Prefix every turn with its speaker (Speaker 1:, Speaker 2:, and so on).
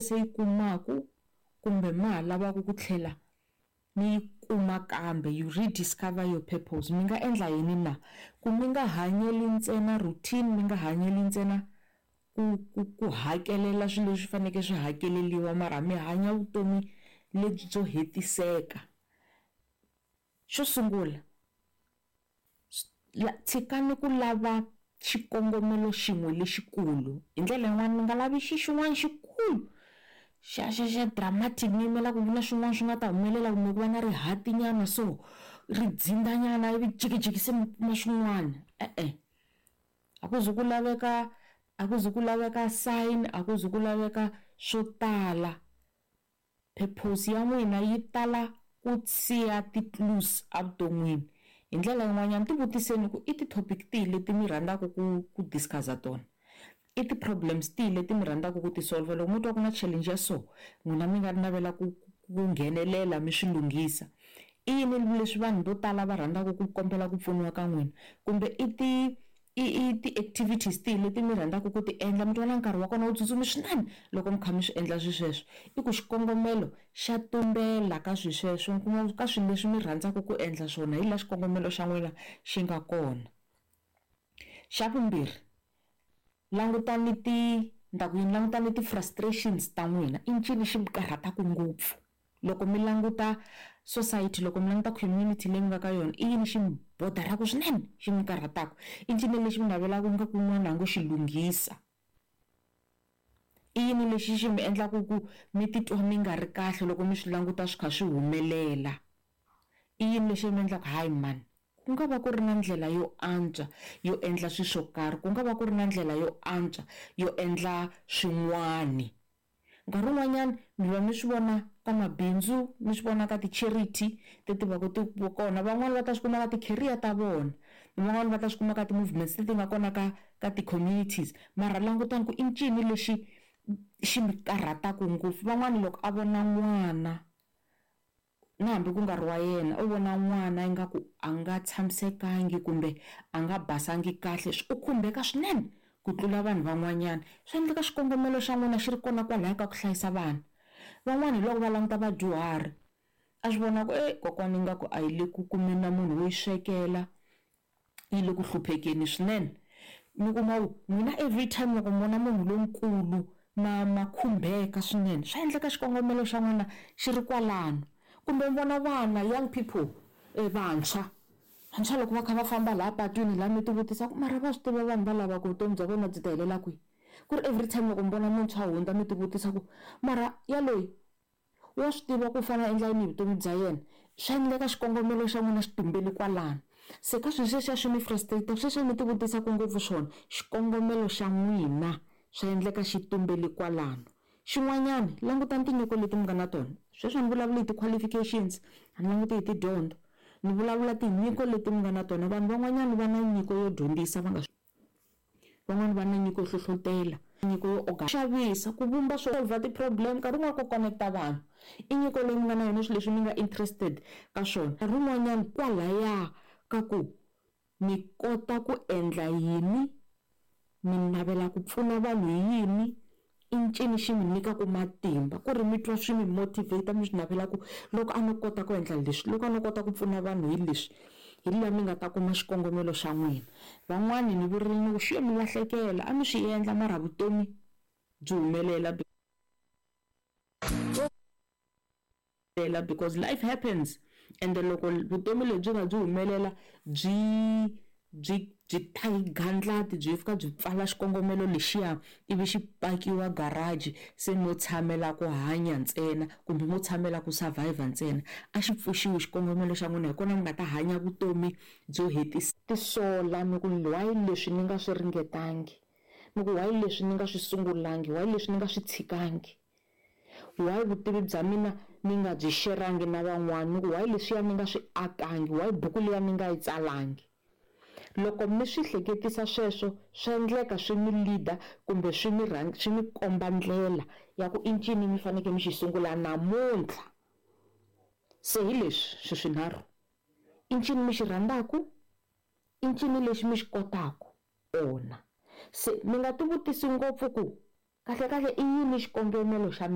Speaker 1: Se yi kumaku kumbe ma ha lavaka ku tlhela mi yi kuma kambe, you rediscover your purpose, mi nga endla yini na? Ku mi nga hanyeli ntsena routine, mi nga hanyeli ntsena ku hakelela swilo leswi faneleke swi hakeleriwa mara mi hanya vutomi lebyi byo hetiseka. Xo sungula tshikani ku lava xikongomelo xin'we lexikulu, hi ndlela yin'wani mi nga lavi xi xin'wana xikulu xa dramatic, mi yimela ku na swin'wana swi nga ta humelela kumbe ku va na rihati nyana so ri dzinda nyana ivi jikijiki se mi kuma swin'wana. E-e, a ku ze ku laveka, a ku ze ku laveka sign, a ku ze ku laveka swo tala. Purpose ya n'wina yi tala ku siya ti-clues evuton'wini. Hi ndlela yin'wanyana ti vutiseni ku i ti-topic tihi leti mi rhandzaka ku discuss-a tona, i ti-problems tihi leti mi rhandzaka ku ti solver. Loko mo twa ku na challenge ya so n'wina mi nga navela ku nghenelela mi swi lunghisa. I yini leswi vanhu vo tala va rhandzaka ku kombela ku pfuniwa ka n'wina, kumbe i ti-activities tihi leti mi rhandzaka ku ti endla, mi twa na nkarhi wa kona wu tsutsumi swinene loko mi kha mi swi endla swi sweswo. I ku xikongomelo xa tumbela ka swi sweswo, mi kuma ka swilo leswi mi rhandzaka ku endla swona hi laha xikongomelo xa n'wina xi nga kona. Xa vumbirhi, langutani ti ni ta ku yini, langutani ti-frustrations ta n'wina, i ncini xi mi karhataka ngopfu? Loko mi languta society, loko mi languta community leyi mi nga ka yona, i yini xi mi bodaraka swinene, xi mi karhataka? I ncini lexi mi navelaka ingaku un'wana a ngo xi lunghisa? I yini lexi xi mi endlaka ku mi titwa mi nga ri kahle loko mi swi languta swi kha swi humelela? I yini lexi mi endlaka hayi mani, ku nga va ku ri na ndlela yo antswa yo endla swilo swo karhi, ku nga va ku ri na ndlela yo antswa yo endla swin'wani. Nkarhi wun'wanyana mi va mi swi vona ka mabindzu, mi swi vona ka ti-charity leti va ku ti kona, van'wani va ta swi kuma ka ti-career ta vona, van'wani va ta swi kuma ka ti-movements leti nga kona ka ti-communities. Mara langutani ku i ncini lexi xi mi karhataka ngopfu. Van'wani loko a vona n'wana, na hambi ku nga ri wa yena, u vona n'wana ingaku a nga tshamisekangi kumbe a nga basangi kahle, u khumbeka swinene ku tlula vanhu van'wanyana. Swi endleka xikongomelo xa n'wina xi ri kona kwalaya ka ku hlayisa vana. Van'wani hi loko va languta vadyuhari, a swi vona ku kokwani ingaku a yi le ku kumeni na munhu wo yi swekela, yi le ku hluphekeni swinene. Mi kuma ku n'wina every time loko mi vona munhu lonkulu ma khumbeka swinene, swa endleka xikongomelo xa n'wina xi ri kwalano. Kumbe mi vona vana, young people, vantshwa, vantshwa loko va kha va famba laha patwini laha mi ti vutisa ku mara va swi tiva vanhu va lava ku vutomi bya vona byi ta helela kwihi? Ku ri every time loko mi vona muntshwa hundza mi ti vutisa ku mara yaloyi wa swi tiva ku u fanele a endla yini hi vutomi bya yena? Swa endleka xikongomelo xa n'wina xi tumbele kwalano. Se ka swilo sweswiya swi mi frustrate, sweswiya mi ti vutisaka ngopfu swona, xikongomelo xa n'wina swa endleka xi tumbele kwalano. Xin'wanyana, langutani tinyiko leti mi nga na tona. Sweswi a ni vulavuli hi ti-qualifications, a ni languti hi tidyondzo, ni vulavula tinyiko leti mi nga na tona. Vanhu van'wanyana va na nyiko yo dyondzisa va nga swi, van'wani va na nyiko yo hlohlotela, nyiko yo xavisa, ku vumba swo solve ti-problem, nkarhi wun'wani ku connect-a vanhu. I nyiko leyi mi nga na yona, swilo leswi mi nga interested ka swona. Nkarhi wun'wanyana kwalaya ka ku mi kota ku endla yini, mi navela ku pfuna vanhu hi yini, i ncini xi mi nyikaka matimba ku ri mi twa swi mi motivate, mi swi navela ku loko a no kota ku endla leswi, loko a no kota ku pfuna vanhu hi leswi, hi laha mi nga ta kuma xikongomelo xa n'wina. Van'wani ni vurile ni ku xi yo mi lahlekela, a mi swi endla mara vutomi byi humelela because life happens, and loko vutomi lebyi nga byi humelela byi byi byi ta hi gandlati, byi fika byi pfala xikongomelo lexiya ivi xi pakiwa garage, se mo tshamela ku hanya ntsena kumbe mo tshamela ku survive ntsena. A xi pfuxiwi xikongomelo xa n'wina, hi kona mi nga ta hanya vutomi byo hetisa. Tisola mi ku why leswi ni nga swi ringetangi, mi ku why leswi ni nga swi sungulangi, why leswi ni nga swi tshikangi, why vutivi bya mina ni nga byi xerangi na van'wana, ni ku why leswiya ni nga swi akangi, why buku liya ni nga yi tsalangi. Loko mi swi hleketisa sweswo, swa endleka swi mi leader kumbe swi mi swi mi komba ndlela ya ku i ncini mi fanekele mi xi sungula namuntlha. Se hi leswi swi swinharhu, i ncini mi xi rhandzaka, i ncini lexi mi xi kotaka ona. Se mi nga ti vutisi ngopfu ku kahle kahle i yini xikongomelo xa mina.